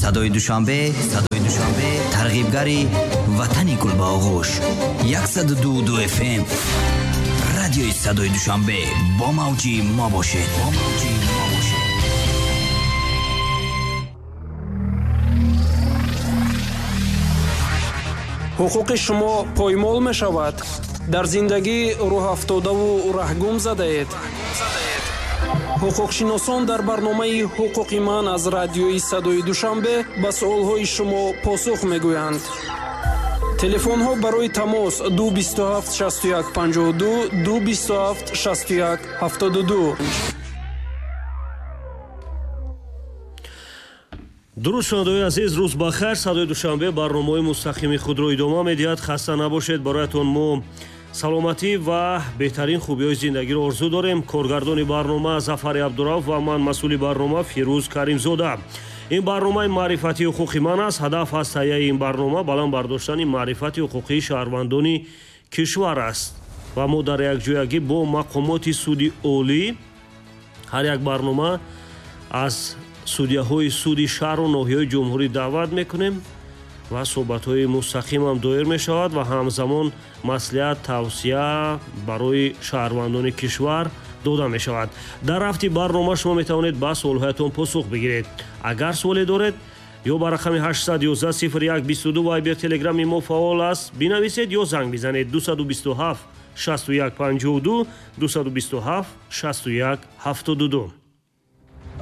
Садои Душанбе, Садои Душанбе, тарғибгари ватани гулбаоғӯш. 102,2 FM. Радиои Садои Душанбе, бо мавҷи мо бошед. Бо мавҷи мо бошед. Ҳуқуқи шумо поймол мешавад. Дар зиндагӣ рӯҳафтодаву раҳгум задаед. Ҳуқуқшиносон дар барномаи «Ҳуқуқи ман» аз радиои Садои Душанбе ба суолҳои шумо посух мегӯянд. Телефонҳо барои тамос 227 61 52, 227 61 72. Дуруст, шунавандаои азиз, рӯз бахайр. Садои Душанбе барномаҳои мустақими худро идома медиҳад. Хаста набошед, бароятон мо саломатӣ ва беҳтарин хубиҳои зиндагиро орзу дорем. Коргардони барнома Зафари Абдурауф ва ман, масъули барнома Фирӯз Каримзода. Ин барномаи маърифати ҳуқуқи ман аст. Ҳадаф аз таҳияи ин барнома баланд бардоштани маърифати ҳуқуқии шаҳрвандони кишвар аст ва мо дар якҷоягӣ бо мақомоти суди олӣ ҳар як барнома аз судяҳои суди шаҳру ноҳияҳои ҷумҳурӣ даъват мекунем ва суҳбатҳои мустақимам доир мешавад ва ҳамзамон маслиҳат, тавсия барои шаҳрвандони кишвар дода мешавад. Дар рафти барнома шумо метавонед ба суолҳоятон посух бигиред. Агар суоле доред, ё ба рақами 811 01 22 Вайбер, Телеграми мо фаъол аст, бинависед ё занг бизанед 227 61 52, 227 61 72.